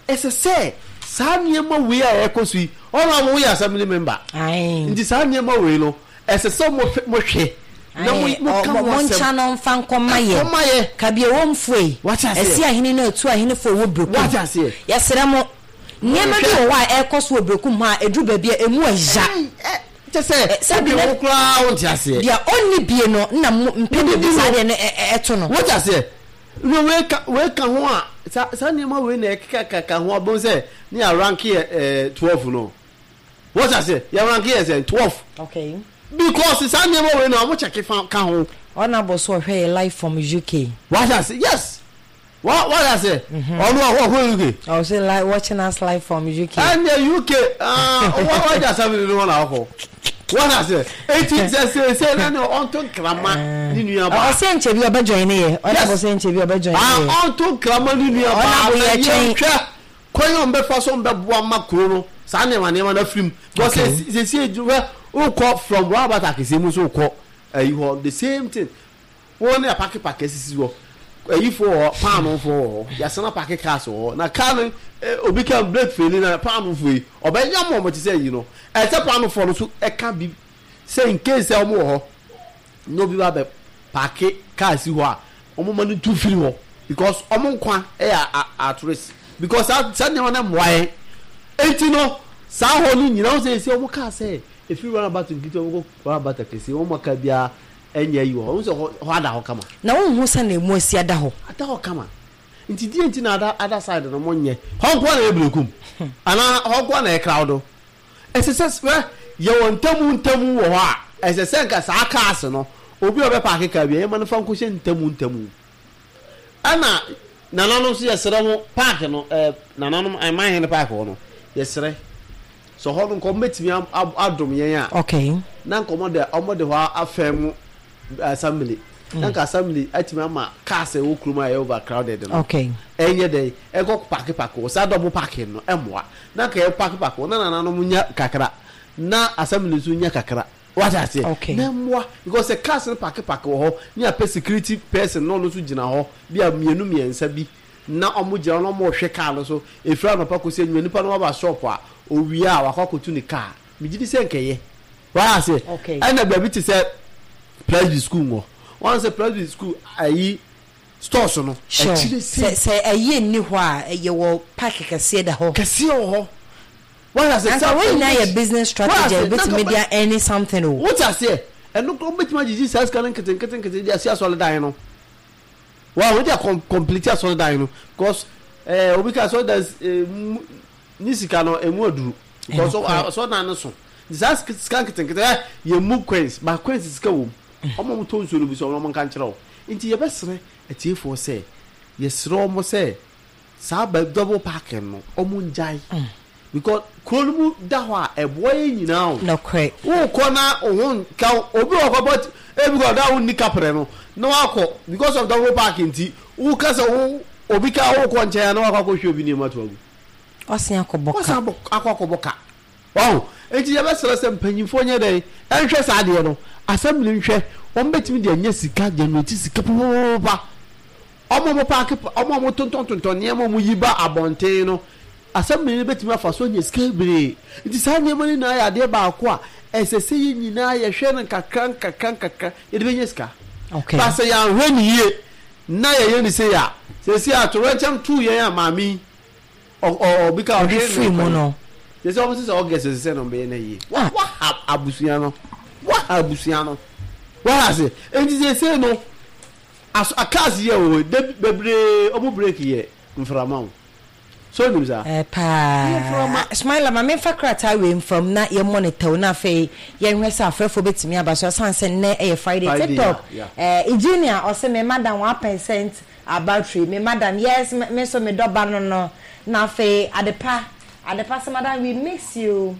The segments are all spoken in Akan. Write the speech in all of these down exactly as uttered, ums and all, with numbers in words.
Ɛsɛ sɛ saa nneɛma wei a ɛkɔ so yi, ɔno a woyɛ assembly member, nti saa nneɛma wei no, ɛsɛ sɛ mohwɛ na moka ho asɛm. Monkyɛ no mfa nkɔma yɛ. Nkɔma yɛ. Kabea wɔ mfoe. Wate aseɛ. Ɛsi ahene no atu ahenefo wɔ Brekum. Wate aseɛ. Yɛsrɛ mo, nneɛma bi wɔ hɔ a ɛrekɔ so wɔ Brekum hɔ a ɛduru baabi a ɛmu ɛya. Kyɛ sɛ sɛbi wo koraa wonte aseɛ. Deɛ ɔnni bie no na mpɛ baabi saa deɛ no ɛto no. Wate aseɛ. No, wei ka wei ka ho a, saa saa nneɛma wei na ɛkekakaka ho abɔn sɛ ne yɛ rank yɛ ɛɛ twelve no. Wate aseɛ, yɛ rank yɛ sɛ twelve. Okay. Because saa nneɛma wei na wɔn kyɛke fa ka ho. Ɔna bɔ so ɔhwɛ yɛ live from U K. Wate aseɛ, yes. Wa wate aseɛ, ɔno ɔkɔ U K. Ɔsɛ live, watching us live from U K. Ɛnna U K aa wa wagye assembly no hɔ na ɔkɔ. Wate aseɛ, eti sɛ sɛ sɛ na ne ɔnto nkrama ne nua baa. Ɔsɛ nkyɛn bi ɔbɛ join ne yɛ. Ɔna bɔ sɛ nkyɛn bi ɔbɛ join ne yɛ. Ɔnto nkrama ne nua baa. Ɔna bɔ yɛ twɛn. Yɛntwɛ kwan a ɔmbɛfa so ɔmbɛboa ma kuro no saa nneɛma nneɛma no afiri mu, because sɛsie hwɛ, wokɔ from roundabout akɛseɛ mu nso wokɔ ayi hɔ, the same thing, wɔn ne apark park asisi hɔ, ayifoɔ wɔ hɔ, paanofoɔ wɔ hɔ, yɛasana park cars wɔ hɔ, na car no, obi ka brake fail na paanofoɔ yi ɔbɛnya mo, ɔmo te sɛ ayi no, ɛsɛ paanofoɔ no so ɛka bi sɛ in case sɛ ɔmo wɔ hɔ na obi ba bɛ park car si hɔ a, ɔmo ma no tu firi hɔ, because ɔmo nkwa ɛyɛ at risk, because saa saa nneɛma no mmoa yɛn. Eti no saa hɔ no nyinaa, wɔn sɛ esi ɔmo kaa sɛ efiri roundabout nketewa wɔn kɔ roundabout akɛseɛ, wɔn aka biara ɛnyɛ yi wɔ hɔ, wɔn sɛ hɔ hɔ ada hɔ kama. Na wɔn ho sɛ na emu asi ada hɔ. Ada hɔ kama, nti die nti na ada ada side no mo nyɛ hɔ nko na yɛ Berekum anaa hɔ nko na yɛ crowd. Ɛsɛ sɛ sɛ yɛwɔ ntamu ntamu wɔ hɔ a, ɛsɛ sɛ nka saa cars no, obi a ɔbɛ park car bi a, yɛma no fa nkɔhyɛ ntamu ntamu. Ɛna nananom nso, yɛsrɛ mo, park no, ɛɛ nananom aman hene park hɔ no, yɛsrɛ sɛ hɔ no nka ɔmo bɛtumi adom yɛn a, okay na nka ɔmo de ɔmo de hɔ afɛn mu assembly, na nka assembly atumi ama cars a ɛwɔ kurom a ɛyɛ overcrowded no okay ɛnyɛ dɛ ɛkɔ park park wɔ saa double parking no ɛmoa, na nka yɛ park park wɔ na nananom nya kakra na assembly nso nya kakra. Wate aseɛ? Okay. Na mmoa, because sɛ cars no park park wɔ hɔ ne apɛ security person na ɔno nso gyina hɔ bi a mmienu mmiɛnsa bi na ɔmo gyina hɔ na ɔmo rehwɛ car no so efiri anɔpa kɔsi anwummerɛ, nipa no waba shop a, owie a wakɔ akɔtu ne car, megye di sɛ nkɛyɛ. Wate aseɛ? Okay. Ɛna baabi te sɛ Presby School wɔ wɔn sɛ Presby School ayi stores no sure akyire sɛ sei. Sɛ ɛyɛ nni hɔ a, ɛyɛ wɔ park kɛseɛ da hɔ. Kɛseɛ wɔ hɔ. Wate aseɛ? Anka wɔn nyinaa yɛ business strategy a ebetumi de earn something o. Wote aseɛ? Ɛno kora wobɛtumi agyegye saa sika no nketenkete nkete de asi asɔredan no wa wode akɔ complete asɔredan no, because ɛɛ obi ka asɔredan ɛɛ mu ne sika no emu aduru, because Ɛnokorɛ. asɔredan no so nti saa sika sika nketenkete ɛ yɛ mu coins ba coins sika wɔ mu, ɔmo a ɔmo tɔ nsuo no bi so, ɔmo nka nkyerɛ wo. Nti yɛbɛsrɛ atiefoɔ sɛ yɛsrɛ ɔmo sɛ saa ba double parking no, ɔmo ngyae, because kuro no mu da hɔ a, ɛboa yɛn nyinaa o. Nokorɛ. Wokɔ na wo ho nka wo, obi wɔ kɔ but ebi kɔ ɔda wo nni kaprɛ no na wakɔ, because of double park nti woka sɛ wo obi ka wokɔ nkyɛn a na wakɔ akɔhwɛ obi nneɛma to agu. Ɔsen akɔbɔ ka. Wasan abɔ akɔ akɔbɔ ka wahu. Nti yɛbɛsrɛ sɛ mpanyinfoɔ nyɛ dɛn ɛnhwɛ saa adeɛ no, assembly nhwɛ, wɔn bɛtumi de anya sika, generate sika papapapa. Ɔmo a ɔmo park, ɔmo a ɔmo tontɔntontɔn nneɛma a ɔmo yi ba abɔnten no, assembly no bɛtumi afa so anya sika bebree. Nti saa nneɛma no nyinaa yɛ adeɛ baako a ɛsɛ sɛ yɛn nyinaa yɛhwɛ no nkakra nkakra nkakra, yɛde bɛnya sika. Okay ba sɛ yɛanhwɛ ne yie na yɛyɛ ne sei a, sɛsi a torɛnkyɛm tuu yɛn a maame yi ɔbi ka ɔde firi mu no. Sɛ sɛ ɔmo sɛ sɛ August sɛ sɛ na ɔmo bɛyɛ na yie wa waha abusua no, waha abusua no, waha ase. Nti sɛ sɛ no aso cars yɛ wɔ hɔ de bebree, ɔmo brake yɛ mframa o, so onim saa. Eh, paa Smiler, ma memfa krataa wei mfam na yɛ monitor wo, na afei yɛnhwɛ sɛ afrɛfoɔ bɛtumi aba so, ɛsiane sɛ nnɛ ɛyɛ Friday. Friday. TikTok. yeah, eh, Eugenia ɔsɛ me madam one percent battery, me madam, yes, me me nso me dɔba no no Na afei Adepa, Adepa sɛ, "Madam, we miss you."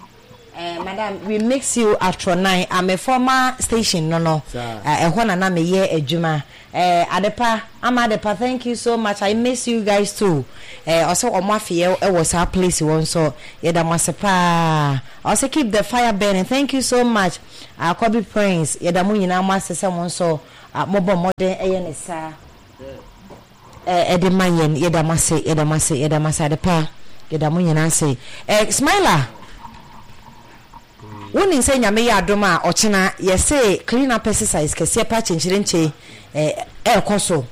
Eh, madam, we miss you. Atronan ame former station no no Saa. eh, ɛhɔ na na meyɛ adwuma. eh, Adepa ama Adepa, thank you so much, I miss you guys too. eh, ɔsɛ ɔmo afeyɛ ɛwɔ saa place wɔ nso, yɛda mo ase paa. Ɔsɛ keep the fire burning, thank you so much. Akɔbi Prince, yɛda mo nyinaa mo ase sɛ mo nso ah, mobɔ mmɔden ɛyɛ ne saa ɛde ma yɛn. Yɛda mo ase, yɛda mo ase, yɛda mo ase. Adepa Yɛda mo nyinaa ase. eh, Smiler, wonim sɛ Nyame yɛ adom a, ɔkyena yɛse clean up exercise kɛseɛ pa kyɛnkyerɛnkyɛ eh, ɛɛkɔ so.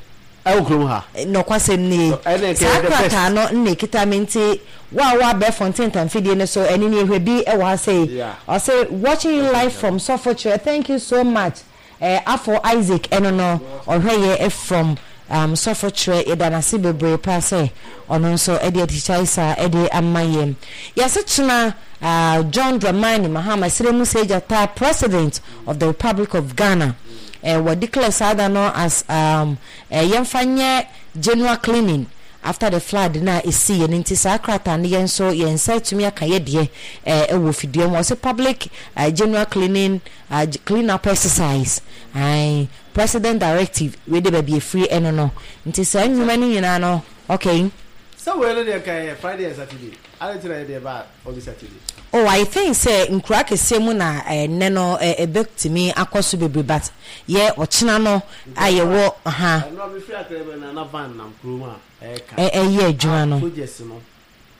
Ɛwɔ kurom ha. Nɔkwasɛm nie. Ɛna saa ɛkɛyɛ the best. Krataa no nna ekita me, nti wo a woabɛ ntamfidie no so ɛne ne ehwɛ bi ɛwɔ ha sei. Yeah. Ɔsɛ, "Watching you live from Sɔfokyerɛ, thank you so much." eh, afɔ Isaac ɛno no ɔhwɛ yɛ from um, Sɔfokyerɛ. Yɛda n'ase bebree paa sɛ ɔno nso ɛde atikya saa ɛde ama yɛn. Yɛsɛ kyena uh, John Dramani Mahama Sremu Sejata, President of the Republic of Ghana, eh, wɔ declare saa da no as um, eh, yɛmfa nyɛ general cleaning after the flood na esi yɛn. Nti saa krataa no, yɛn nso yɛn nsa atumi aka yɛ deɛ ɛɛ ɛwɔ fidua mu. Ɔsɛ public uh, general cleaning uh, clean up exercise, ayi president directive wei de baabi efiri ɛno no. Nti saa nnwuma no nyinaa no, okay. Sɛ wei no deɛ, nka yɛ Friday and Saturday ade tena yɛ deɛ ba ɔde Saturday. Oh, I think sɛ nkura kɛseɛ mu na ɛnɛ no ɛbɛtumi akɔ so bebree, but yɛ ɔkyena no a yɛwɔ ha. Ɛno a mefiri akra bɛ na na van nam kurom a ɛɛka. Ɛyɛ adwuma no. Soldiers no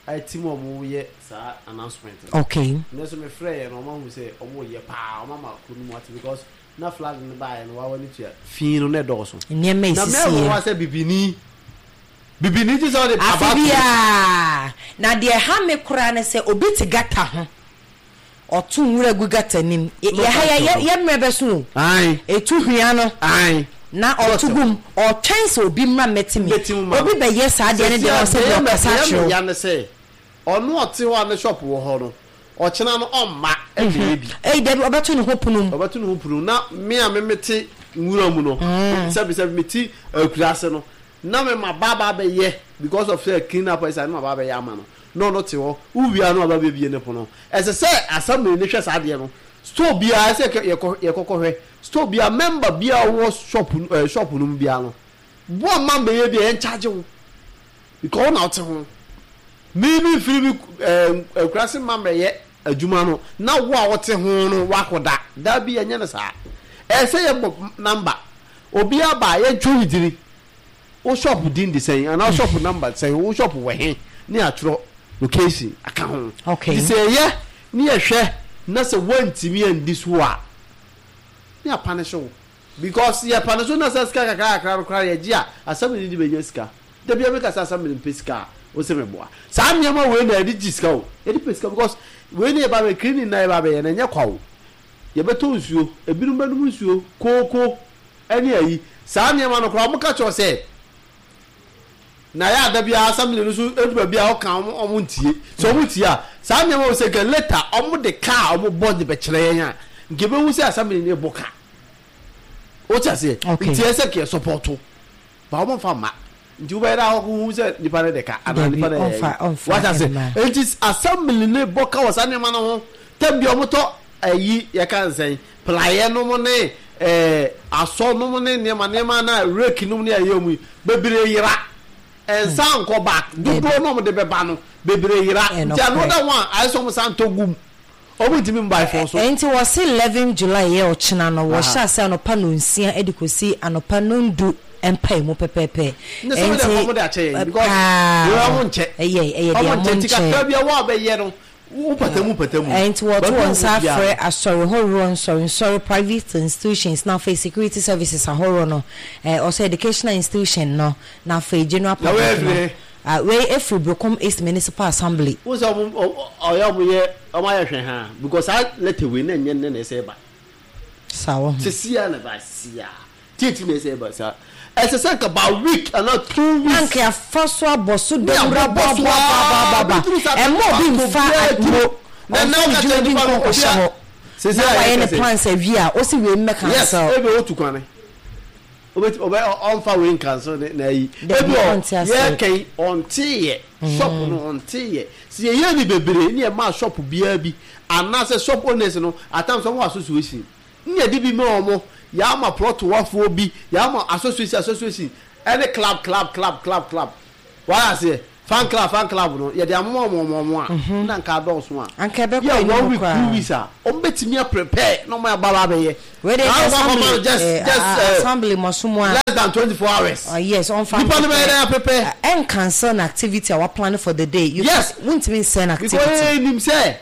ɛti mu a ɔmo yɛ saa announcement no. Okay ne nso mefrɛ yɛ no, ɔmo ahu sɛ ɔmo yɛ paa, ɔmo ama kuro no mu ate, because na flood no baayɛ no, wawa ne tua fii no na ɛdɔɔso. Nneɛma na esisi mɛwɔ wa yɛ sɛ bibini bibini ti sɛ ɔde afe aba. Biara na deɛ ɛha me koraa ne sɛ obi te gutter ho, ɔto nwura gu gutter nim. Yɛ ha yɛ yɛ mmerɛ bɛ so o. Ayi. Etu hwia no ayi na ɔto gum, ɔtwɛn sɛ obi mmra mmɛte mi. Mmɛte mu ma obi no. Bɛyɛ saa deɛ ne deɛ ɔsɛ deɛ ɔkasa akyerɛ wo. Ya ne sɛ ɔno ɔte hɔ a ne shop wɔ hɔ no, ɔkyena no ɔmma ɛbɛyɛ bi. Ɛyi dabi, ɔbɛto ne ho pono mu. Ɔbɛto ne ho pono na me a me mete nwura mu no, sɛbi sɛbi, mete akuraase no na me ma ba ba bɛyɛ because of sɛ clean up ɛsɛ ne ma ba bɛyɛ ama no na ɔno te hɔ wowia no aba bɛbie ne pono. Ɛsɛ sɛ assembly ne hwɛ saa adeɛ no. Store biara sɛ yɛkɔ yɛkɔkɔ hwɛ store biara, member biara wɔ shop ɛɛ shop no mu biara no, boa mma mbɛyɛ bi a yɛn charge wo because ɔna ɔte ho. Mi mi firi mi ɛɛ akuraase mma mbɛyɛ adwuma no na wo a wɔte ho no wakɔda dabi, yɛnyɛ no saa. Ɛsɛ yɛ bɔ number, obiara ba yɛntwa ne dini, wo shop din de sɛn anaa wo shop number sɛn, wo shop wɔ he, ne atwerɛ location aka ho. Okay. Nti sɛ yɛyɛ ne yɛhwɛ na sɛ woantumi andi so a, ne apane so wo, because yɛpane so na sɛ sika kakra kakra no koraa yɛgye a, asɛm ne de bɛnya sika. Da bia meka sɛ asɛm ne mpɛ sika a, wo sɛ meboa saa nneɛma wei na yɛde gye sika o, yɛde pɛ sika, because wei ne yɛba bɛ cleaning na yɛba bɛyɛ na ɛnyɛ kwa o. Yɛbɛtɔ nsuo, ebinom bɛnom nsuo kooko ɛne ayi saa nneɛma no koraa. Ɔmo ka kyerɛ sɛ na yɛ ada biara assembly no so edu baabi a ɔka ɔmo ɔmo ntie sɛ ɔmo tie a, saa nneɛma wɔ sɛ nka later ɔmo de kaa ɔmo bɔ de bɛkyerɛ yɛn a, nka ebehu sɛ assembly no bɔ kaa o ti aseɛ. Okay. Nti ɛsɛ kɛ support ba ɔmo nfa ma nti wobɛyɛ dɛ akɔkɔ hu sɛ nipa no de ka anaa Dabi, nipa no yɛ ɔmfa- ɔmfa wata sɛ mma. nti assembly no bɔ ka wɔ saa nneɛma no ho. Tɛm bi ɔmo tɔ ayi yɛka nsɛn praeɛ nom ne ɛɛ asɔ nom ne nneɛma nneɛma na rake nom ne ayɛ mu yi bebree yera, nsa nkɔ back dodoɔ na ɔmo de bɛba no bebree yera. Ɛyɛ nti ano nokorɛ. da ho a ayɛ sɛ ɔmo san tɔ gum, ɔmo ntumi mba ifɔ so. Nti wɔse eleven July yɛ ɔkyena no, wɔhyɛ Aha. ase anɔpa nonsia de kɔsi anɔpa nondu mpae mu pɛpɛɛpɛ. Ne sɛ wɔde ɔmo de akyɛ yɛn because paa wɔn ɔmo nkyɛ. Ɛyɛ ɛyɛ deɛ ɔmo ɔmo nkyɛ nti kakra nkyɛ bi a wɔn a bɛyɛ no wo patamu patamu. Nti wɔto Baabi a wɔn nsa wɔ biara. afrɛ asɔre horoɔ, nsɔre nsɔre, private institutions na afei security services ahoroɔ no, ɛɛ ɔsɛ educational institution no na afei general Na wei public no. efiri? Ah, wei efiri Berekum East Municipal Assembly. Wo sɛ ɔmo ɔ- ɔyɛ ɔmo yɛ ɔmo ayɛ hwɛ ha because saa letter wei na nyɛ ne na ɛsɛ ba. Saa wɔ ho. Sisi a na ba si a tietie na ɛsɛ ba saa, ɛsɛ sɛ nka ba week ana two Na weeks. nka yɛafa so abɔ so Ne dawuro abobɔ so aboaboaboaboaba. aa, bɛduru saa Ɛma obi baako mfa biara mo tiri. Na na ɔmfa ne ɔka dwuma kyerɛ bi nipa nkɔ no nkɔhyɛ obi a hɔ sisi na a wayɛ yɛka ne sɛ plans awie a, ɔsi wei mmɛ yes cancel. Ebi otu kwane obeti ɔbɛ ɔnfa wei nkanso ne na ayi. Dabi, ebi ɔ ɔnte ase. Yɛkɛn ɔnte yɛ shop no ɔnte yɛ si yɛyɛ ni bebree ne yɛ maa shop biara bi anaasɛ shop owners no atam sɛ ɔmo wɔ association ne yɛde bi ma ɔmo, yɛama plot wafoɔ bi, yɛama association association ɛne club club club club club wɔayɛ aseɛ. Fan club, fan club no yɛde amoma ɔmo ɔmo a na nka adɔɔso a anka ɛbɛkɔ yɛ anim one week, koraa. two weeks a ɔmo bɛtumi a prepare na ɔmo aba ba abɛyɛ. Wei de Na ɔmo assembly akɔma no just eh, just a- eh, assembly mɔso mu a less than twenty four hours. Uh, yes, ɔnfa Nipa no bɛyɛ dɛ prepare. ɛn cancel an activity a plan for the day. You Yes. can- wontumi nsɛn Because activity. nim sɛ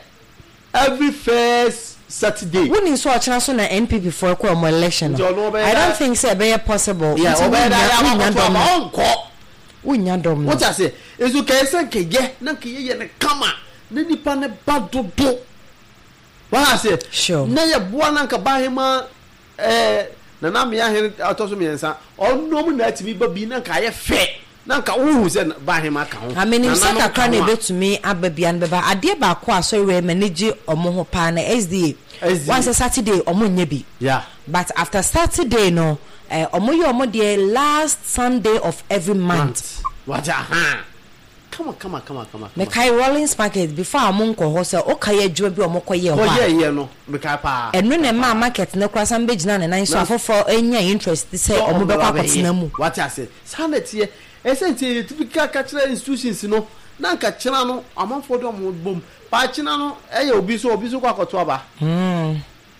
every first Saturday. Wonim sɛ ɔkyena so na N P P foɔ kɔ ɔmo election no. Nti ɔno ɔbɛyɛ I don't dɛ- think sɛ ɛbɛyɛ possible. Yeah, Nti ɔbɛyɛ dɛ wonya ayɛ wonya akɔto dɔm aba no. ɔnkɔ. Wonya dɔm no. Wote ase, nso kɛyɛ sɛ nkɛyɛ na nkɛyɛ yɛ ne kama na nipa ne ba dodo wɔn ase. Sure. Na yɛ boa na nka bahema ɛɛ nana mmea hene atɔ so mmiɛnsa ɔnom na atumi ba bi na nka ayɛ fɛ na nka wohu sɛ bahema ka ho. Amenim sɛ nananom kakra ka na ho a. Ebetumi aba bia no bɛba. Adeɛ baako a asɔre wei m'ani gye ɔmo ho paa na S D A. S D A. Wɔn sɛ Saturday ɔmo nyɛ bi. Yeah. But after Saturday no, eh, ɔmo yɛ ɔmo deɛ last Sunday of every month. Wagye aha kama kama kama kama kama. Mekae Rollins Market before a ɔmo nkɔ hɔ sɛ ɔka yɛ adwuma bi a ɔmo kɔ yɛ hɔ a. Kɔyɛ yɛ no, mekae paa. Ɛno na ɛmaa market no koraa san bɛgyina ne nan so, Na- afoforɔ anya interest sɛ ɔmo bɛkɔ akɔtena mu. Wate ase, saa na teɛ. Ɛsɛ nti yɛtumi ka ka kyerɛ institutions no na nka kyena no amanfoɔ de ɔmo bom paa. Kyena no ɛyɛ obi so obi so kɔ akɔto aba.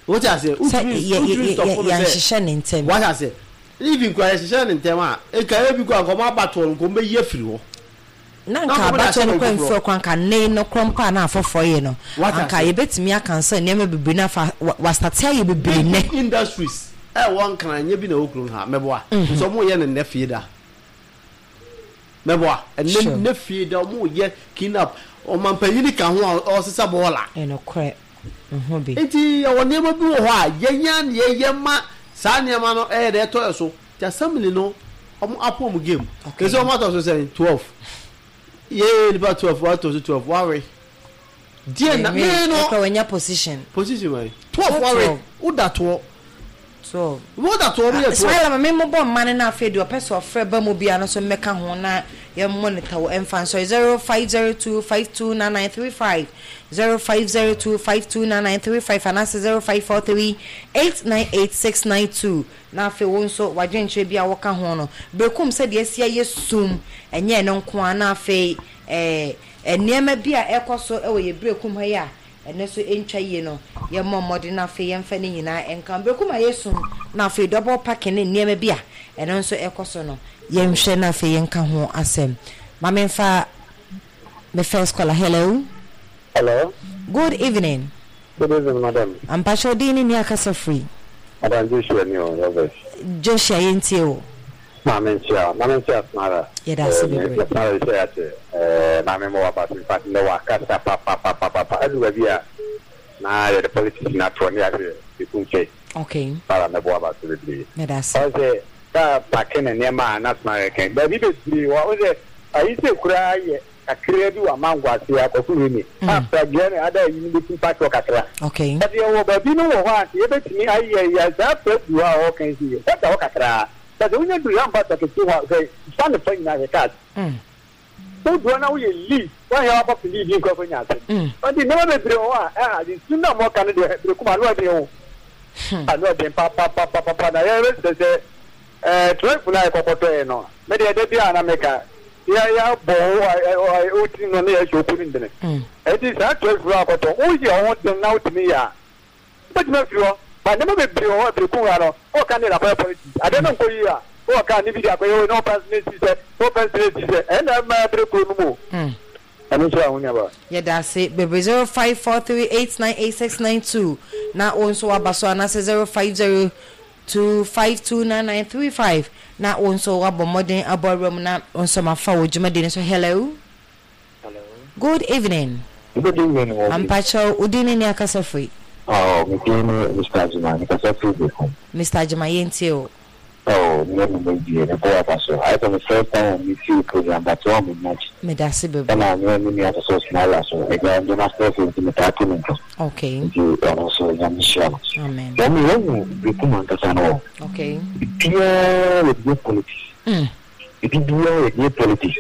Wote ase? Sɛ wotumi yɛ- wotumi yɛ- stop yɛ- no sɛ yɛnhyehyɛ ne ntɛm. Wate ase, even kura yɛhyehyɛ ne ntɛm a, eka ebi kɔ nkɔmɔ abatoɔ no nkɔmɔ bɛyi afiri hɔ. Na Na nka nkɔmɔ de abatoɔ ahyɛ no no kora foforɔ. mfiri kora nka nne no korɔ mpo a na afoforɔ yɛ no. Wate anka ase. Yɛbɛtumi akansa nneɛma bebree na afa wa- wasate ayɛ bebree nnɛ. Big industries ɛwɔ Nkran nye bi na ɛwɔ kurom ha mɛboa nso ɔmo yɛ ne nnɛ fie da mɛboa ɛnɛ. Sure. Nnɛ fie da ɔmo yɛ clean up, ɔmampanyini ka ho a ɔsesa bɔɔla. Ɛnokorɛ nho bi. Nti yɛwɔ nneɛma bi wɔ hɔ a yɛnya ne yɛyɛ ma saa nneɛma no ɛyɛ dɛ ɛtɔ yɛ so. Nti assembly no ɔmo apɔ ɔmo game. Okay. Kɛsɛ ɔmo atɔ so sɛn twelve, yɛ nipa twelve watɔ so twelve wawe deɛ na mee no. Ɛkora wanya position. Position wɛn twelve wawe woda toɔ. Twelve. Woda toɔ, ɔmo yɛ twelve. Ismaila, ma memmobɔ mma no no. Afei deɛ ɔpɛ sɛ ɔfrɛ ba mu bia no so mmɛka ho na yɛmmɔ wo ɛmfa nsɔre zero five zero two five two nine nine three five, zero five zero two five two nine nine three five anaasɛ zero five four three eight nine eight six nine two. Na afei wo nso wadwenkyerɛ bi a wɔka ho no berekum sɛdeɛ asi ayɛ sum ɛnyɛ ɛno nko a. Na afei ɛɛ nneɛma bi a ɛkɔ so ɛwɔ yɛ Berekum ha yi a ɛno nso ntwa yie no, yɛmmɔ mmɔden na afei yɛmfa ne nyinaa ɛnka Berekum a yɛsum. Na afei double parking ne nneɛma bi a ɛno nso ɛkɔ so no, yɛnhwɛ na afei yɛnka ho asɛm. Ma memfa me first caller. Hello. Hello. Good evening. Good evening, madam. Ampakyɛw, din ne nea akasa firi? Madam Joshua ni o, Robert. Joshua, yɛntie o. Maame nkyia, maame nkyia Smara. Yɛda ase bebree. Smara sɛ ate, ɛɛ maame mo wa ba in fact ne wa kasa pa pa pa pa pa pa. Ɛdu baabi a na yɛde politics na toɔ ne ahwɛ eku nkyɛn. Okay Smara mɛbɔ aba so bebree. Mɛda ase. Ɔsɛ kaa park ne nneɛma a na Smara kɛn. Baabi bebree wɔ ɔsɛ ayi sɛ koraa yɛ kakraa bi wɔ amango ase akɔfo wei ni. A pragea ne ada yi no bɛtumi park wɔ kakra. Okay But yɛwɔ baabi no wɔ hɔ a nti yɛbɛtumi ayɛ yɛ saa fɛ du hɔ a ɔka si yɛ sɛda hɔ kakraa, but sɛ wonya duru yɛmfa sakɛti hɔ a sɛ fa ne fa nyinaa hwɛ cars mm. wodoɔ na woyɛ lead woahɛ wabɔ fi lead nkurɔfo nya asɛm. Mm. Nti nneɛma bebree wɔ hɔ a ɛha de nsu na mɔka no deɛ berekum ano ɔden o, ano ɔden papapapapa. Na yɛbɛsɛ sɛ ɛɛ twelve na yɛkɔkɔtɔɛ no, me deɛ da bi a na meka yɛ yɛabɔ wo wotiri no ne yɛhyɛ opu ne ndene. Mm. Ɛnti saa twelve no akɔtɔ woyɛ wo ho den na wotumi yɛ a wobɛtumi afiri hɔ ba. Nneɛma bebree wɔ hɔ a berekum ha no wɔka ne akɔyɛ politics adeɛ no nkɔ yie a wɔka ne bi de akɔyɛ wei na wɔpɛ ne si sɛ wɔpɛ ne si sɛ ɛnna ɛma berekuro no mu o. Mm. Ɛno nso a ho nuaba. Yɛda ase bebree. Zero five four three eight nine eight six nine two na wo nso waba so anaasɛ zero five zero two five two nine nine three five na wo nso wabɔ mmɔden abɔ awura mu na wo nso mafa wɔ dwumadie no so. Hello. Hello. Good evening. Good evening, Obi. Ampakyɛw, wo din ne ne akasa firi? Oh, me din ne Mister Ajima, mekasa firi Bekum. Mister Ajima, yɛntie o. Oh, me ne me die, me bɔ aba so. Ayɛ sɛ me first time a me feel program, but wɔn me match. Meda ase bebree. Ɛna me ne me nua so Smile so, ɛgya ndé ma stress nti me taa to me nka. Okay Nti ɔno nso Nyame hyira no. Amen. Wɔn mi wɔn mu Bekum ankasa no. Okay Biara yɛ deɛ politics. mm. Ebi biara yɛ deɛ politics.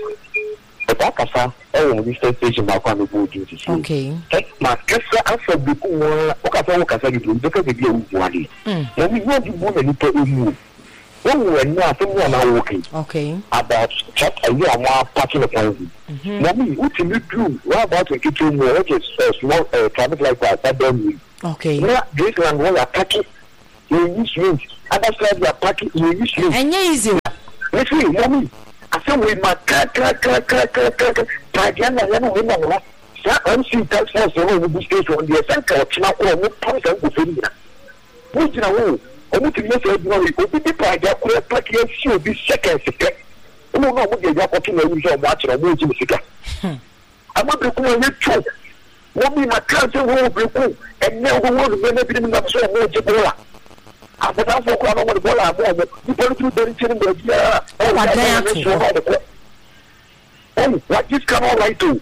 Ɛtaa kasa ɛwɔ mo sister station baako a mebɔ odin sisi. Okay Makasa afa Bekum a wokasa, wokasa bebree, wobɛka baabi a wobu adeɛ. Mm. Na mi nyɛ bi bu na nipa emu o. Wɔn wɔ ɛnu asɛm mu a na wɔɔke. Okay. About tractor yi a wɔn apaki ne kwan bi. Mɔmi wotumi duru roundabout nketewa mu which is uh, small uh, traffic light a ɛda mu yi. Okay. Na Graceland wɔ yɛ apaki yɛyi cement other side yɛ apaki yɛyi cement. Ɛnyɛ easy o. Mesi mɔmi asɛm wei ma kakrakrakrakrakra paadeɛ na yɛn wei na wɔn saa M C task force no a wɔn gu station deɛ sɛ nka ɔkyena korɔ wɔn pam saa nkurɔfoɔ no nyinaa wɔn gyina hɔ o wɔn tumi yɛ saa adwuma wei obi bi paadeɛ korɔ paki asi obi seconds pɛ wɔn na wɔn de agya akɔto na ayi sɛ wɔn akyerɛ wɔn regye ne sika ama Berekum a yɛtwo wɔn bi ma kaa sɛ wɔn wɔ Berekum ɛnɛ wɔn wɔ nneɛma binom nam sɛ wɔn regye bɔɔla abɔdanfoɔ koraa na wɔn de bɔɔla ama wɔn nipa no tumi bɛri nkyɛn baabiara. Wadan ato hɔ. Ɔde kɔ ɔn wagye sika no alright o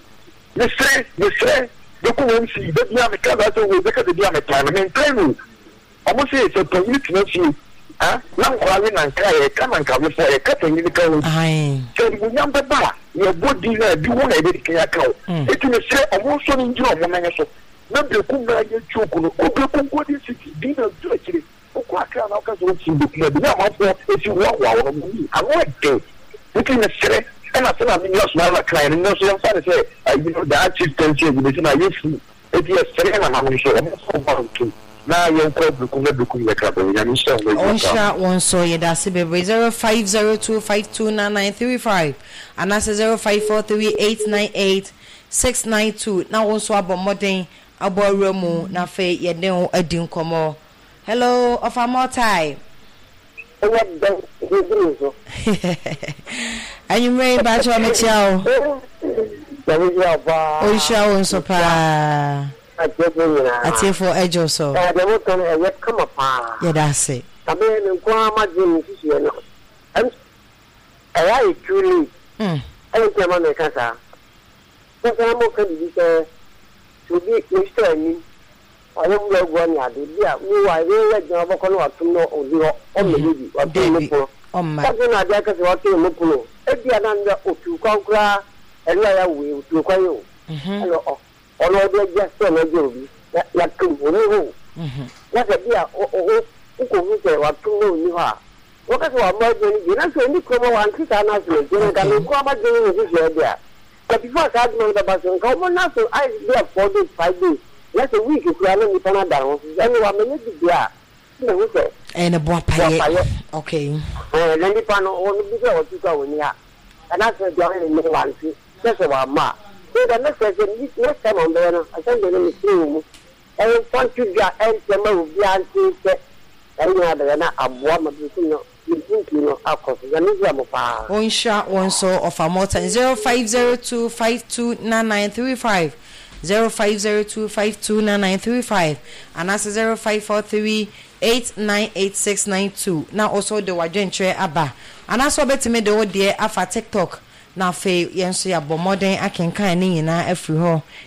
mesrɛ mesrɛ Berekum M C baabi a meka saa sɛ wɔ bɛka baabi a metan no mentan no ɔmo sɛ sɛ panyin tena fie ah na nkɔla we nanka yɛka nankawefoɔ yɛka panyin ka ho. Ayi. Sɛ animuonyam bɛba a yɛbɔ din na ebi ho na yɛbɛdi kan aka o. Eti mesrɛ ɔmo nso no ngyina ɔmo nan so na Berekum na yɛ joke no kɔ Berekum Golden City din na du akyire wokɔ Akra na woka sɛ wofi Berekum a bi na amanfoɔ esi hoahoa wɔn mo yi ano ɛden nti mesrɛ ɛna sɛ na me nua soma na kan no nso yɛmfa ne sɛ ayi no daa chieftaincy ayi no sɛ na yɛ firi eti yɛsrɛ nananom nso ɔmo nso ɔmo ntom na yɛnkɔ Berekum na Berekum yɛ krabɔ. Nyame nhyira wɔn adwuma paa. Ɔnhyira wɔn so. Yɛda ase bebree. Zero five zero two five two nine nine three five anaasɛ zero five four three eight nine eight six nine two na wɔn nso abɔ mmɔden abɔ awura mu na afei yɛde wo adi nkɔmmɔ. Hello, ɔfa mɔtae. Ɛyɛ dɛn ɛduru so? Anwummerɛ yi bakyɛ ɔmekyia wo. Nyame hyira wo paa. Ɔnhyira wo nso paa. Atiefoɔ nyinaa. Atiefoɔ agye so. Ɛɛ deɛ moka no ɛyɛ kama paa. Yɛda ase. Na me me nko ara magye me nsusuɛ no ɛm ɛyɛ ayɛ too late. Mm. Ɛne nti ama meka saa sɛ sɛ na moka biribi sɛ sɛ obi ne store anim ɔyɛ wura agu ne ade bi a wo a yɛyɛ adwuma bɔkɔ no watom no ɔdi hɔ ɔmmɛyɛ bi watom ne Dabi. pono. Ɔmma. Sase na adeɛ aka sɛ watom ne pono ebi a na ndɛ otu kwan koraa ɛno a yɛawoe otu kwan yi o. Mhm. Ɛna ɔ ɔno ɔde agya sɛ ɔno agya obi na yɛatom ɔni hɔ o. Mhm. Na sɛ bi a wo wo wokɔhu sɛ watom na ɔni hɔ a wɔka sɛ wamma adwuma no bi na sɛ ɔni kurom a wante saa no ase nti no nka Okay. menko amadwene ne nhyehyɛɛ deɛ a ka before saa adwuma no bɛba so nka wɔn na so ayɛ bi a four days five days na sɛ week koraa na nnipa no ada ho so ɛne wamɛnyɛ bi deɛ a na hu sɛ ɛyɛ ne boapayɛ. Boapayɛ. Okay. Ɛɛ na nnipa no wɔn bi sɛ wɔtu kɔ a wɔni ha ɛna sɛ deɛ ɔyɛ ne wante sɛ sɛ wamma a so the next sɛ next time ɔmbɛyɛ no asɛm deɛ no mesere wɔ mu ɛyɛ mfa dwa ɛntɛm a obiara nte sɛ ɛne nyinaa bɛyɛ na aboa ma bi no mpuntu no akɔ so. Nyame hyira mo paa. Ɔnhyira wɔn nso. Ɔfa mɔta zero five zero two five two nine nine three five, zero five zero two five two nine nine three five anaasɛ zero five four three eight nine eight six nine two na ɔso de wadwenkyerɛ aba anaasɛ ɔbɛtumi de wo deɛ afa TikTok na afei yɛn nso yɛabɔ mmɔden akenkan ne nyinaa afiri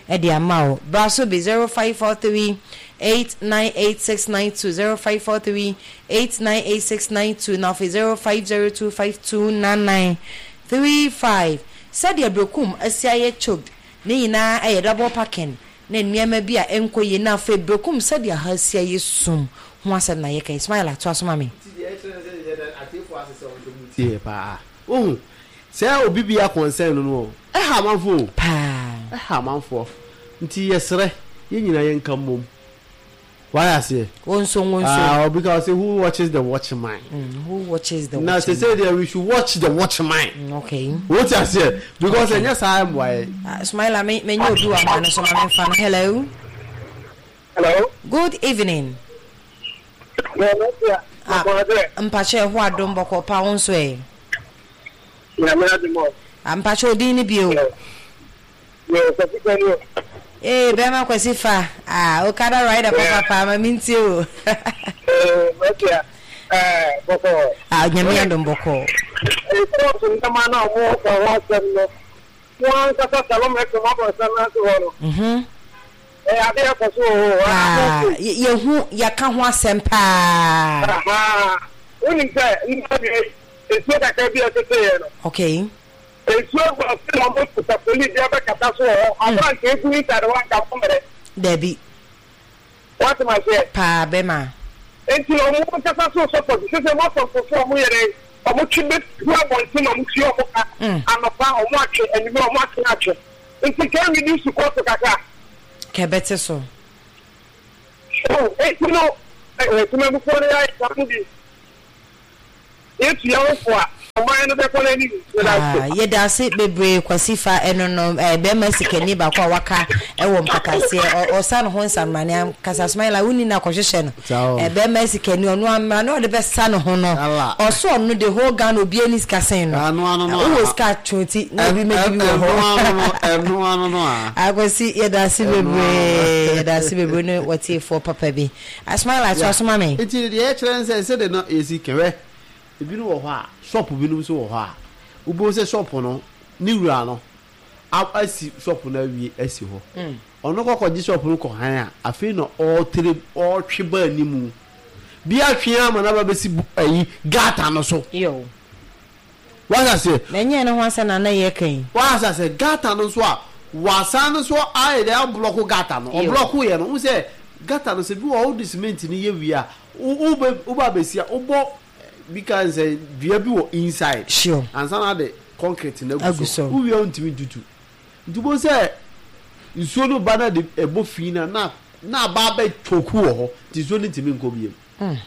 hɔ de ama wo. Bra so bi. Zero five four three eight nine eight six nine two, zero five four three eight nine eight six nine two na afei zero five zero two five two nine nine three five. Sɛdeɛ Berekum asi ayɛ choked ne nyinaa ɛyɛ double parking ne nneɛma bi a ɛnkɔ yie na afei Berekum sɛdeɛ ha asi ayɛ sum ho asɛm na yɛka. Ismail atoa so ma me. Nti deɛ ɛkyerɛ ne sɛ yɛda atiefoɔ ase sɛ wɔn nso mu tie paa. Wohu sɛ obi bi a concern no no ɛha amanfoɔ o. Paa. Ɛha amanfoɔ nti yɛsrɛ yɛn nyinaa yɛnka mmom wayɛ aseɛ. Wɔn nso wɔn nso. Ah, because who watches the watchman? Mm, who watches the na watchman? Sɛ sɛ deɛ we should watch the watchman. Mm, okay. Wote aseɛ because ɛnyɛ saa mmoa yɛ. Uh, Smaila, me me nye obi wɔ ama no so ma me nfa no. Hello. Hello. Good evening. Ah, mpakyɛ ɛho adom bɔkɔ pa wo nso ɛ? Nyame adom o. Ah, mpakyɛ odin ne bio? Yo, Kwasi Kani o. Ee, bɛrima Kwasi fa. Ah, Okada rider papa paa ma mi ntie o. Eh, Matia. Eh, bɔkɔ. Ah, Nyame adom bɔkɔ. Eh, kɔɔto ndɛma na ɔmo ka ho asɛm no. Wɔn ankasa Salom F M abɔnsan n'ase hɔ no. Mhm. Ɛyɛ ade akɔ so wɔ hɔ. Paa, yɛ- yɛhu yɛka ho asɛm paa. Aha. Wonim sɛ nnipa deɛ nsuo kakra bi a ɛtete yɛ no. Okay. Nsuo gu ase na ɔmo kuta polisi abɛkata so wɔ hɔ. Aberante egu inside hɔ anka mo mmerɛ. Dabi. Wɔte ma seɛ. Paa bɛrima. Enti ɔmo nkasa so support sɛ sɛ mɔsɔfo so ɔmo yɛrɛ ɔmo twe bɛ tu abɔnten na ɔmo tue ɔmo ka anɔpa ɔmo atwe anwummerɛ ɔmo atwe atwe nti kɛ reduce cost kakra kɛbɛte so. So enti no ɛɛ temamufoɔ no yɛ ayɛ saa no bi yɛtu yɛn ho fo a ɔman no bɛkɔ n'anim. Ah, yɛda ase bebree Kwasi fa ɛno no ɛɛ bɛrima sikani baako a waka ɛwɔ mpataseɛ ɔsa ne ho nsamrane ankasa Smaila wonni na akɔhyehyɛ no ɛɛ bɛrima sikani ɔno amra na ɔde bɛsa ne ho no ɔso ɔno de whole Ghana obi ani sika sen no wowɔ sika twonti na obi mɛdi bi wɔ hɔ. Ɛno ano no a Akwasi, yɛda ase bebree, yɛda ase bebree ne wɔtiefoɔ papa bi. Smaila to asoma me. Nti deɛ yɛkyerɛ ne sɛ sɛde no yɛsi kɛwɛ ebinom wɔ hɔ a shop binom nso wɔ hɔ a wobɛhu sɛ shop no ne wura no asi shop no awie asi hɔ ɔno kɔkɔgye shop no kɔ han a afei na ɔretere ɔretwe ba anim bi atwe ama no aba bɛsi ayi gutter no so. Wasa sɛ na ɛnyɛ ne ho asɛ na na yɛ kan. Wasa sɛ gutter no nso a wasan no so ayɛ dɛ ablock gutter no ɔblock yɛ no wo sɛ gutter no sɛ bi wɔ wode cement no yɛ wie a wo wo bɛsi a wobɔ bi ka sɛ dua bi wɔ inside. Sure. Ansa na de concrete na agu so. Wo wie ntimi tutu. Nti bo sɛ nsuo no ba na de ɛbɔ fi na na na aba bɛ choku wɔ hɔ. Nti nsuo no ntimi nkɔ biem.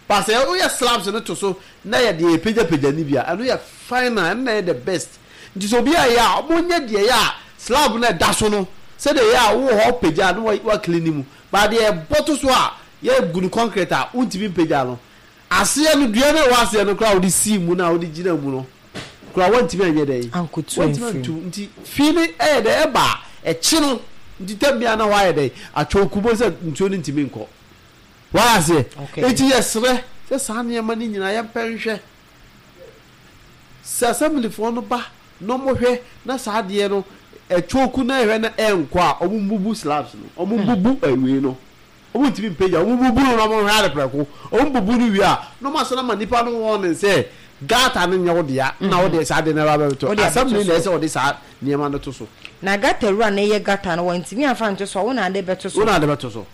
Ba sɛ wo yɛ slabs no to so na yɛ de pagya pagya ni bia ɛno yɛ final, ɛno na yɛ the best. Nti so obi ayɛ a mo nyɛ deɛ yɛ a slab na ɛda so no sɛ de yɛ a wo hɔ pagya no wa clean mu. Ba deɛ ɛbɔ to so a yɛ gu no concrete a wontimi mpagya no. Aseɛ no dua na ɛwɔ aseɛ no koraa wode sii mu na wode gyina mu no koraa wontimi anyɛ dɛn wontimi antu. Nti fii no ɛyɛ dɛ ɛba a ɛkye no nti tam bia na hɔ ayɛ dɛn atwɔnku bo sɛ nsuo no ntimi nkɔ wɔayɛ aseɛ. Nti yɛserɛ sɛ saa nneɛma no nyinaa yɛmpɛ nhwɛ sɛ assemblyfoɔ no ba na ɔmohwɛ na saa adeɛ no ɛtwɔnku na ɛhwɛ na ɛnkɔ a ɔmo mbubu slabs no ɔmo mbubu awie no ɔmo ntimi mpagya ɔmo bubu no na ɔmo hwɛ ade prɛko ɔmo bubu no wie a na ɔmo asana ma nipa no wɔn ne sɛ gutter no nyɛ wo dea na wo de saa de na ɛba bɛtɔ assembly na ɛsɛ ɔde saa nneɛma no to so. Na gutter wura na ɛyɛ gutter no wɔntumi amfa nto so a wo na ade bɛto so. Wo na ade bɛto so.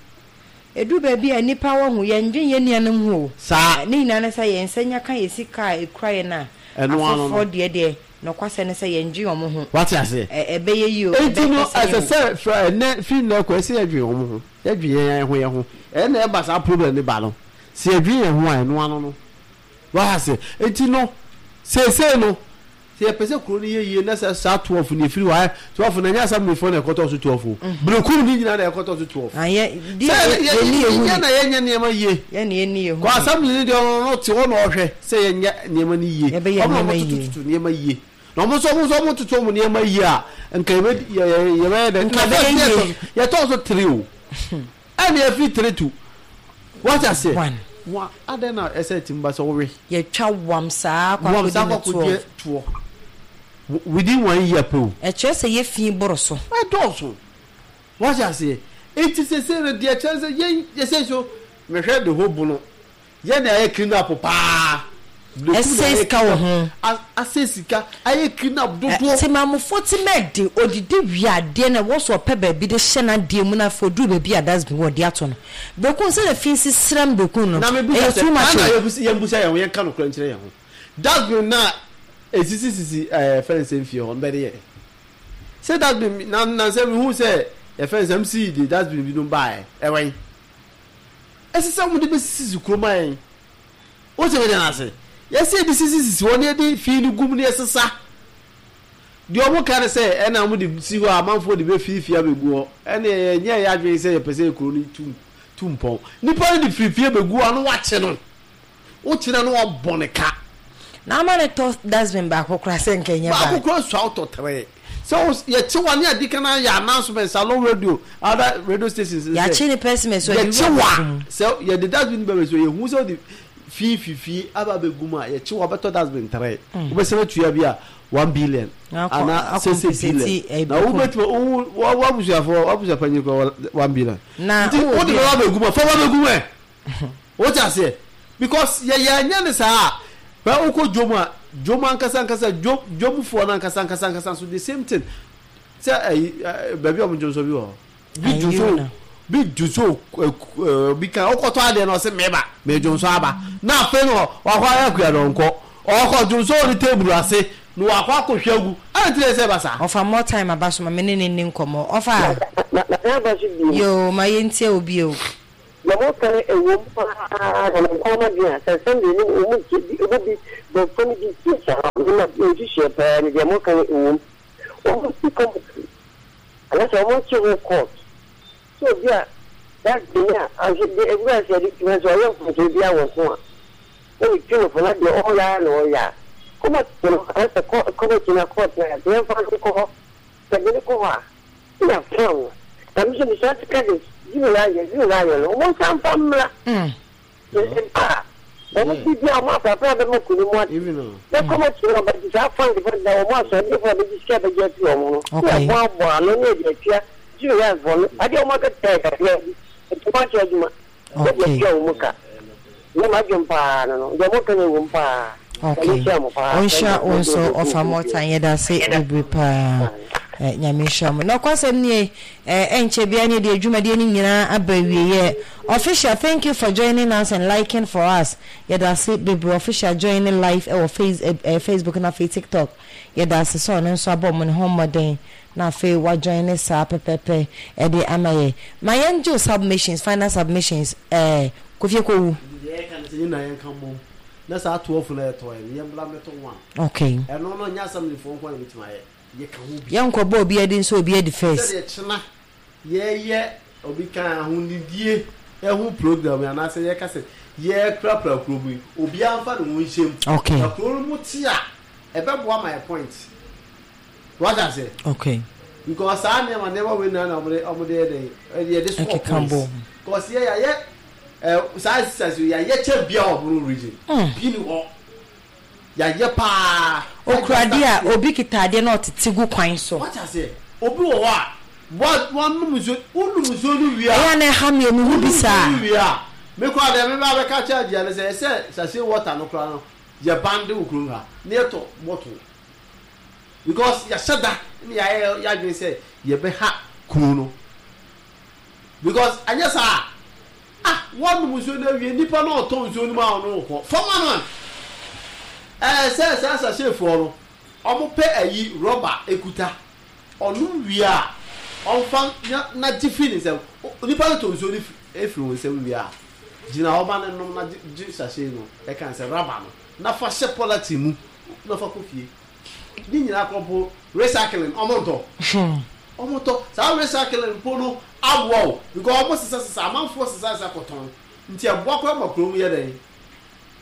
Edu baabi a nipa wɔ ho yɛn dwen yɛn nuanom ho. Saa. Ne nyinaa ne sɛ yɛn nsa nya ka yɛ sika a ekura yɛn a afoforɔ deɛ deɛ nokwasɛ ne sɛ yɛn dwen wɔn ho. Wate ase. Ɛbɛyɛ yie o. Enti no ɛsɛ sɛ fra ɛnɛ fi nnɛ kɔ ɛsɛ yɛdwen wɔn ho. Yɛdwen yɛn ho yɛn ho. Ɛna ɛba saa problem ne ba no. Sɛ yɛdwen yɛn ho a ɛno ano no. Wate ase. Enti no seesei no sɛ yɛpɛ sɛ kuro no yɛ yie na sɛ saa twelve no yɛfiri hɔ a twelve no ɛnyɛ assemblyfoɔ na ɛkɔtɔ so twelve o. Berekum ne nyinaa na ɛkɔtɔ so twelve. Sɛ yɛnyɛ na yɛnyɛ nneɛma yie. Kɔ assembly no deɛ ɔno no te hɔ na ɔhwɛ sɛ yɛnyɛ nneɛma no yie. Ɔmo na ɔmo tututu nneɛma yie. Na ɔmo nso ɔmo nso ɔmo tutu ɔmo nneɛma yie a nka yɛbɛ yɛbɛyɛ dɛ. Nka bɛyɛ yie. Yɛtɔ so three o. Ɛna yɛfiri three to. Wate aseɛ? One. Adɛn na ɛsɛ tim ba sɛ wowe? Yɛtwa wam saa akɔ akɔdi toɔ. Within one year po. Ɛkyerɛ sɛ yɛfi boro so. Ɛdɔɔso. Wate aseɛ? Enti sɛsɛ no deɛ kyerɛ sɛ yɛn yɛsɛ so mehwɛ de ho bono. Yɛn na yɛ clean up paa. Ɛsɛ sika wɔ ho. Asɛ sika ayɛ clean up dodoɔ. Temamufo ti mɛdi odidi wiadeɛ na wɔsɔ ɔpɛ baabi de hyɛ n'adeɛ mu na afɔ duru baabi a dustbin wɔ de ato no. Bekun sɛ na fi sisram bekun no. Na me busa sɛ na yɛn busa yɛn ho yɛn ka no kura nkyerɛ yɛn ho. Dustbin na esisi sisi ɛɛ fɛnse mfie hɔ mbɛde yɛ. Sɛ dustbin na na sɛ mihu sɛ yɛ fɛnse M C de dustbin bi no baa ɛwɛn. Ɛsɛ sɛ wɔn de bɛ sisi kuroma yɛn. Wọ́n sɛ bɛgyina ase. Yɛsɛ yɛde sisi sisi hɔ ne yɛde fi no gum ne yɛsesa. Deɛ ɔmo ka ne sɛ ɛna ɔmo de si hɔ a amanfoɔ de bɛ fiifie abɛgu hɔ. Ɛna yɛnyɛ yɛ adwene sɛ yɛpɛ sɛ kuro no tu tu mpɔn. Nipa no de fiifie bɛgu hɔ a no wakye no. Wokyerɛ no wabɔ ne ka. Na ama ne tɔ dustbin baako koraa sɛ nkɛnyɛ baa. Baako koraa sua wotɔ tere. Sɛ yɛkye wa ne adi kan ayɛ announcement salon radio other radio stations. Yɛakye ne person so yɛkye wa sɛ yɛde dustbin bɛbɛ so yɛhu sɛ wode fii fifie aba abɛgu mu a yɛkye wa bɛtɔ dustbin tere. Wobɛsɛn atua bi a one billion ana sese billion. Na wobɛtumi wo wabusuafoɔ wabusuapanyin koraa one billion. Nti wode bɛba abɛgu mu a fa ba abɛgu mu ɛ. Wote aseɛ? Because yɛyɛ anyɛ ne saa a bɛ wokɔ dwom a dwom ankasa ankasa dwom dwomfoɔ no ankasa ankasa ankasa so the same thing. Sɛ ɛyi baabi a ɔmo dwom so bi wɔ hɔ. Bi dwom so Bi dwonso bi kan ɔkɔtɔ adeɛ na ɔsɛ mɛba mɛdwonso aba na afei no wakɔ ayɛ akua na ɔnkɔ ɔkɔ dwonso wɔ ne table ase na wakɔ akɔhwɛ agu ɛna ti sɛ ɛba saa. Ɔfa more time aba so ma me ne ne ni nkɔmmɔ ɔfa. Na na aba so bi. Yoo, ma yɛntie obi o. Na mo kan ɛwɔ mu paa na mo nkɔn ma deɛ sɛ sɛm deɛ ne ɔmu bi ɔmu bi bɔfo no bi tie saa ne ma nhyehyɛ paa ne deɛ mo kan ɛwɔ mu ɔmu si kɔmputa anaasɛ ɔmo nkye ho court so obi a dustbin a ahwɛ de ewura sɛ ɛde tuma sɛ ɔyɛ mfonso bi awɔ ho a na ne tu no fo na deɛ ɔyɛ a na ɔyɛ a kɔmɔti no anaasɛ kɔ kɔmɔti na court na yɛ yɛmfa no nkɔ hɔ sɛ de ne kɔ hɔ a na fam no na mi nso bisa sika de zero na ayɛ zero na ayɛ no ɔmo nsa nfa mmra mpa a ɔmo bi bi a ɔmo afrafra bɛma kuro mu ate na kɔmɔti no ɔbɛgye saa fund fund na ɔmo asɔre ɔbɛgye sika bɛgye afi ɔmo no na Okay. ɛbɔ abɔ ano ne ɛde atua zero na afɔ no adeɛ ɔmo akata yɛ kakra bi ntoma akyɛ adwuma ɛde Okay. atua ɔmo ka ne ma dwom paa no no deɛ ɔmo ka no ɛwɔ mu paa. Okay. Nyame nhyira mo paa. Ɔnhyira wo nso, ɔfa more time, yɛda ase bebree paa. Eh, Nyame nhyira mo. Na ɔkwasɛm nie, eh, ɛnkyɛ bia ne deɛ adwumadeɛ no nyinaa aba awieɛ. Official, thank you for joining us and liking for us. Yɛda ase bebree. Official joining live ɛwɔ face, eh, eh, Facebook na afei TikTok. Yɛda ase sɛ ɔno nso abɔ mo ne ho mmɔden na afei wajoin ne saa pɛpɛpɛ ɛde ama yɛ. Ma yɛngye wo submissions, final submissions, eh, Kofi Ekowu. Deɛ yɛka no sɛ yɛn na yɛnka mmom na saa twelve na yɛtɔ yɛ no yɛmbra mmɛtɔ one. Okay. Ɛno no nyɛ assemblyfoɔ nko na bɛtumi ayɛ, yɛka ho bi. Yɛnkɔbɔ obi adi nso obi adi first. Sɛdeɛ kyena yɛyɛ obi kan ahonidie ɛho program yi anaasɛ yɛka sɛ yɛkurapura kuro mu yi, obiara mfa ne ho nhyɛ mu. Okay. Na kuro no mu te a ɛbɛboa ma yɛ point wagya sɛ Okay. because saa nneɛma nneɛma wei na na ɔmo de ɔmo de yɛ dɛ yɛde score Ɛkeka points bom. Because yɛ yɛayɛ ɛ saa exercise yi yɛayɛ kyɛ bia wɔ Bono Region Mm. bi ni hɔ yɛayɛ paa. Okura adeɛ a obi kita adeɛ na ɔtete gu kwan so. Wagya sɛ obi wɔ hɔ a wa wanom nsuo, wonum nsuo no wie a Ɛyɛ a na ɛha mi omi hu bi wonum saa. nsuo no wie a me koraa deɛ me ba bɛka kyerɛ agyia no sɛ ɛsɛ sachet water no koraa no yɛ bande wɔ kurom ha na yɛtɔ bottle because yɛahyɛ da ne yɛayɛ yɛadwene sɛ yɛbɛha kuro no because anyɛ saa ah wɔnom nsuo no awie, nipa no ɔtɔ nsuo no mu a ɔno kɔ fama no a ɛɛ sɛ saa sachet foɔ no ɔmo pɛ ayi rɔba ekuta ɔnom wie a ɔmfa na na gye fi ne nsam. O- nipa no tɔ nsuo no fi- efiri wɔn nsam wie a gyina hɔ ma ne nom na gye gye sachet no ɛka sɛ rɔba no na fa hyɛ polythene mu na fa kɔ fie. Ne nyinaa kɔ mpo recycling ɔmo ntɔ, ɔmo tɔ saa recycling mpo no aboa o because ɔmo sisa sisa amanfoɔ sisa sisa kɔtɔn nti ɛboa kɔ ma kurom yɛ dɛ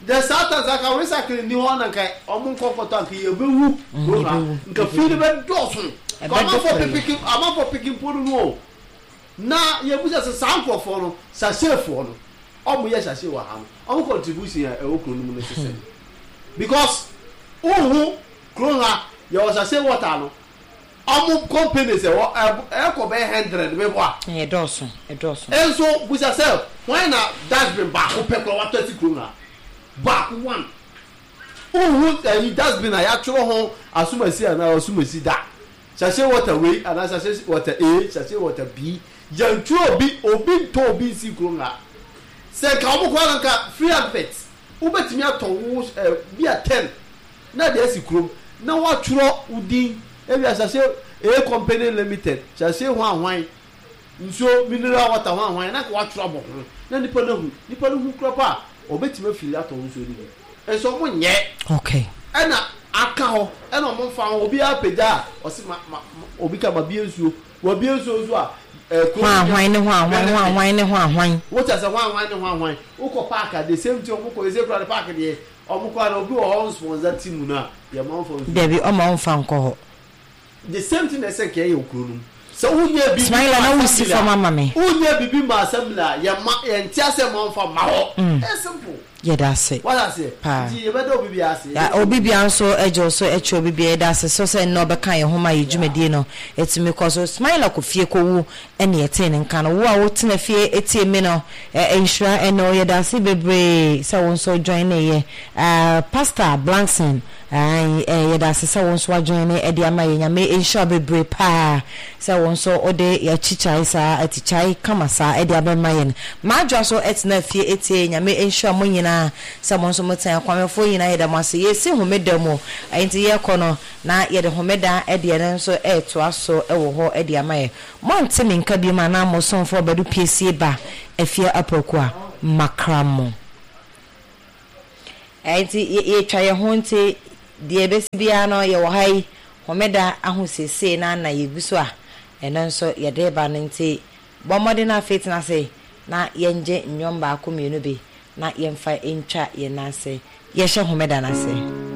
de saa ta saa ka recycling ni hɔ na nka ɔmo nkɔ kɔtɔ anka yɛbɛwu kurom ha. Yɛbɛwu. Nka fie no bɛ dɔɔso. Ɛbɛdɔ amanfoɔ pɛɛ. pipiki amanfoɔ piki mpo no no o na yɛbusa sɛ saa nkurɔfoɔ no sachetfoɔ no ɔmo yɛ sachet wɔ ha no ɔmo contribution a ɛwɔ kuro no mu no sisɛ because wohu kuro ha yɛwɔ sachet water no ɔmo companies ɛwɔ ɛb- ɛkɔ bɛyɛ hundred bɛbɔ a Ɛyɛ dɔɔso, ɛdɔɔso. Nso busa sɛ wɔn na dustbin baako pɛ kora watɔ asi kurom ha baako one wohu ɛyi dustbin a yɛatwerɛ ho asomasi anaa asomasi da sachet water wei anaa sachet water A, sachet water B, yɛntwerɛ obi obi ntɔ obi nsi kurom ha sɛ nka wɔn kɔ nka free advert wobɛtumi atɔ wo ɛ bi a ten na de asi kurom na watwerɛ wo din ebi a sachet A Company Limited, sachet hwan hwan nsuo mineral water hwan hwan na ka watwerɛ abɔ ho na nipa no hu nipa no hu kura pa a ɔbɛtumi afiri atɔ nsuo no bi nso ɔmo nyɛ. Okay. Ɛna aka hɔ ɛna ɔmo nfa ho obiara pagya a ɔsi ma ma ma- obi ka ma bie nsuo wabie nsuo nso a ɛɛ kuro Hwan hwan ne hwan hwan hwan hwan ne hwan hwan. Wote sɛ hwan hwan ne hwan hwan wokɔ park a the same thing ɔmo kɔ ese kura de park deɛ ɔmo kɔ a obi wɔ hɔ sponsor team no a yɛ ma nfa nsuo. Dabi, ɔma ɔmfa nkɔ hɔ. The same thing na ɛsɛ nkɛ yɛ okuro no mu sɛ wonyɛ bibi Smaila na ma wosi assembly a fam ama me. Wonyɛ bibi ma assembly a yɛ ma yɛn ti asɛ ma nfa ma hɔ. Mm. Ɛyɛ simple. Yɛda ase. Wata ase. Paa. Nti yɛbɛda obi bi ase. Ya, obi bia nso agye wo so akyi, obi bia yɛda ase so sɛ nnɛ ɔbɛka yɛn ho ma yɛ dwumadie no ɛtumi kɔ so. Smaila kɔ fie kɔwu ɛne yɛtee ne nka no. Wo a wotena fie ɛtie mi no, ɛ- nhyira ɛne wo. Yɛda ase bebree sɛ wo nso join ne yɛ. Ah, Pastor Blankson, ae, ɛ, yɛda ase sɛ wo nso wajoin ne ɛde ama yɛ. Nyame nhyira wo bebree paa sɛ wo nso wode yɛakyikyai saa atikyae kama saa ɛde abɛma yɛn. Maadwoa so ɛtena fie ɛtie. Nyame nhyira mo nyinaa sɛ mo nso motena. Akwamefoɔ nyinaa, yɛda mo ase. Yɛsi homeda mu, nti yɛkɔ no na yɛde homeda ɛdeɛ no nso ɛɛtoa so ɛwɔ hɔ ɛde ama yɛ. Moante me nka biom anaa mo somfoɔ bɛdo piesie ba afie aprɔko a makra mo. Nti yɛtwa yɛn ho, nti deɛ ɛbɛsi biara no, yɛwɔ ha yi homeda ahosiesie na na yɛgu so a ɛno nso yɛde ba no. Nti bɔ mmɔden no afei tena ase na yɛngye nnwom baako mmienu bi na yɛmfa ntwa yɛn nan ase yɛhyɛ homeda no ase.